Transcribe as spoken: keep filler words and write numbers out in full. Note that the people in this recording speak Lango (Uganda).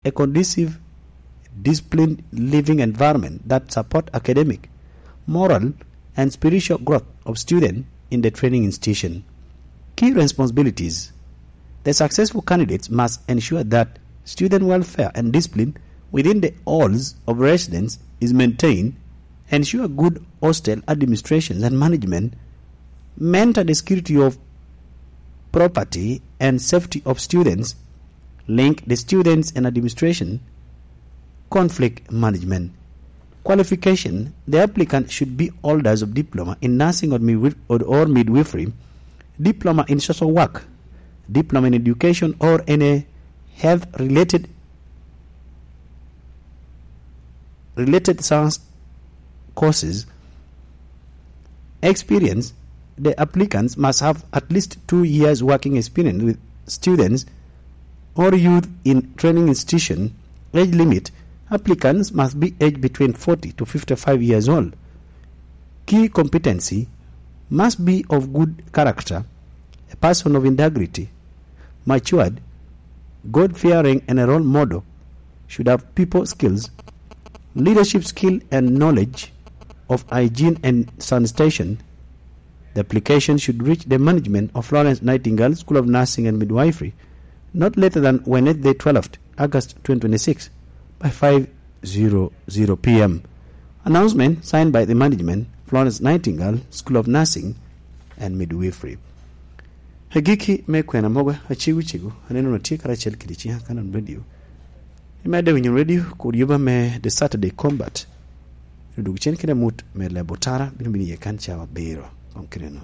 a conducive, disciplined living environment that support academic, moral, and spiritual growth of students in the training institution. Key responsibilities. The successful candidates must ensure that student welfare and discipline within the halls of residence is maintained, ensure good hostel administrations and management, maintain the security of property and safety of students, link the students and administration, conflict management. Qualification. The applicant should be holders of diploma in nursing or midwif-, or, or midwifery, diploma in social work, diploma in education or any health related, related science courses. Experience. The applicants must have at least two years working experience with students or youth in training institution. Age limit. Applicants must be aged between forty to fifty-five years old. Key competency. Must be of good character, a person of integrity, matured, God-fearing and a role model, should have people skills, leadership skill and knowledge of hygiene and sanitation. The application should reach the management of Florence Nightingale School of Nursing and Midwifery not later than Wednesday, twelfth August twenty twenty-six, by five zero zero p m. Announcement signed by the management, Florence Nightingale School of Nursing and Midwifery. Agikki me kwena mogo, acegu cegu, aneno na tye karacel kede ciŋa Kanan Radio. Imedde winyo radio kur yuba me The Saturday Combat. Odug cen kede amut me lebo tara bino bino iye kan cawa abiro. Kom kede no.